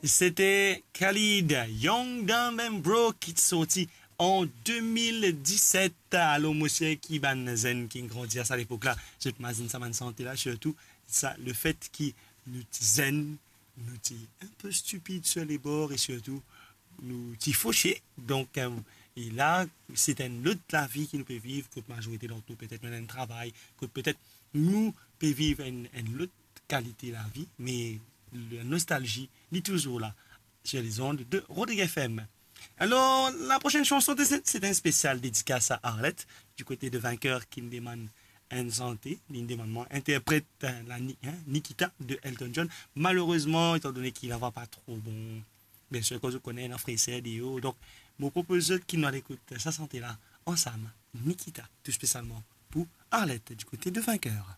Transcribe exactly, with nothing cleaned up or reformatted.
Sete Khalid, Young, Dumb and Broke, ki ti sorti an de mil diset. Alor, mo sir ki bann zenn ki grandi a sa lepok la, zot mazinn sa bann sante la, sirtou sa, lefet ki nou ti zenn, nou ti inpe stipid sir lebor e sirtou nou ti fose. Donk, eh, e la, se enn lot lavi ki nou pe viv, kot mazorite dan nou, petet nou ena enn travay, kot petet nou pe viv enn, enn lot kalite lavi, me la nostalzi, li touzour la, sir lezond de Rodrigue F M. Alor, la prosenn sanson, se, se enn spesial dedikas a Arlette, di kote de Vainqueur, ki demann enn sante, li demann mwa interpret, eh, la Ni-, hein, Nikita de Elton John. Malerezman, etandone ki lavwa pa tro bon, biensir, kouma zot kone, ena freser deor. Donk, mo propoz zot ki nou al ekout sa sante la ansam, Nikita, tou spesialman pou Arlette, di kote de Vainqueur.